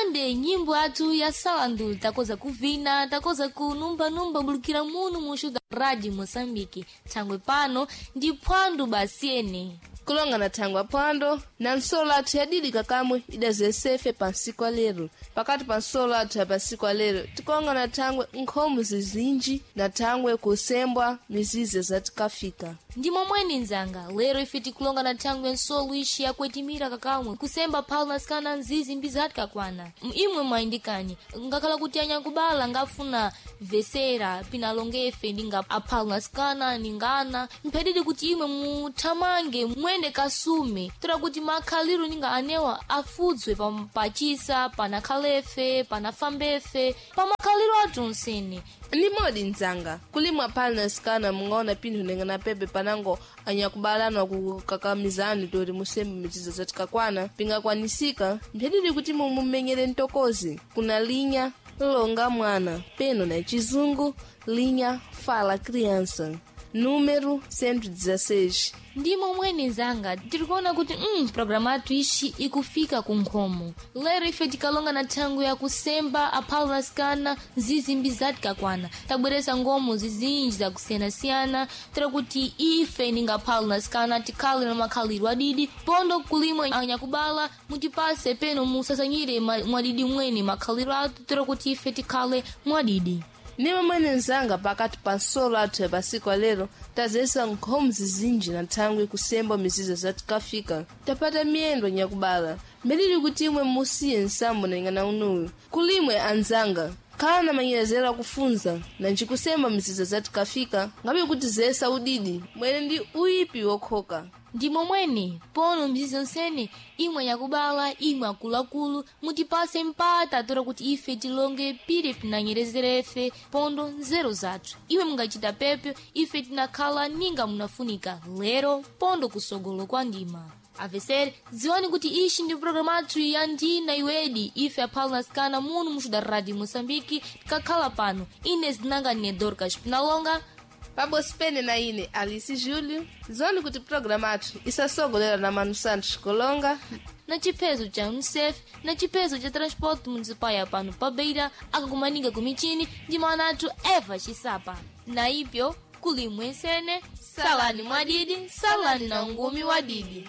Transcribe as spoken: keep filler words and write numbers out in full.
Ande nyimbo athu ya salandu takoza kuvina, takoza kunumbanumba bulukira munu muxu da Rádio Moçambique. Thangwe pano ndi phwando basiene. Kulonga na thangwe aphwando na nsolo athu yadidika kamwe idazesefe pa nsiku alero. Pakati pa nsolo athu ya pansiku alero tikonga na thangwe nkhomo zizinji na thangwe kusembwa mizizi zatikafika. Ndi momweni nzanga, lero ife tikulonga na thangwe nsolo ixi yakwetimira kakamwe kusemba phala nasikana nzizi mbizati kakwana. Imwe mwayindikani, ngakhala kuti anyakubala ngafuna vesera pinalongefe ndinga aphala nasikana ningana mphedidi kuti imwe muthamange mwende kasume tola kuti makhaliro ninga anewa afudzwe pa- pachisa panakhalefe panafambefe pamakhaliro athu onsene. Ni modi nzanga kulimwa phala nasikana mungaona pinthu nenga na pepe panango anyakubalana kukakamizani tori musembe mizizo zatikakwana pingakwanisika mphedidi kuti mumumenyere ntokozi kuna linya longa mwana peno na chizungu linha fala criança número cento e dezesseis. Ndi momweni nzanga tirikuona kuti mm, programa athu ixi ikufika ku nkhomo. Lero ife tikalonga na thangwe yakusemba aphala nasikana nzizi mbizati kakwana. Tabweresa ngomo zizinji zakusiyanasiyana tera kuti ife ningaphala nasikana tikhale na makhaliro adidi pondo kulimwe anyakubala mutipase peno musasanyire ma- mwadidi mwene makhaliro athu tera kuti ife tikhale mwadidi. Ni momwene nzanga pakati pa nsolo athu ya pasiku alero tazesa nkhomo zizinji na thangwe kusemba mizizo zatikafika. Tapata miyendo nyakubala mbelili kuti imwe musiye nsambo nalingana unuyu kulimwe anzanga khala na manyerezero akufunza na njikusemba mizizo zatikafika ngabe kuti zesa udidi mwene ndi uyipi wokhoka. Ndi momwene pono mzizi onsene imwe yakubala imwe akuluakulu mutipase mpata tora kuti ife tilonge pire pinanyerezerefe pondo nzeru zathu. Imwe mungachita pepe ife tinakhala ninga munafunika lero pondo kusogolo kwa ndima. Avesere dziwani kuti ixi ndi programu athu ya ndina iwedi ife aphala nasikana munu muxu da Rádio Moçambique tikakhala pano. Ine zinanga ne Dorcas Pinalonga. Pabosi pene na ine Alice Júlio zoni kuti programa athu isasogolera na Manu Santos Kolonga na chiphezo cha UNICEF na chiphezo cha transporte municipal ya pano pa Beira akakumanika ku michini ndi mana athu Eva Chisapa. Na ipyo kulimwe nsene salani mwadidi salani na ngumi wadidi.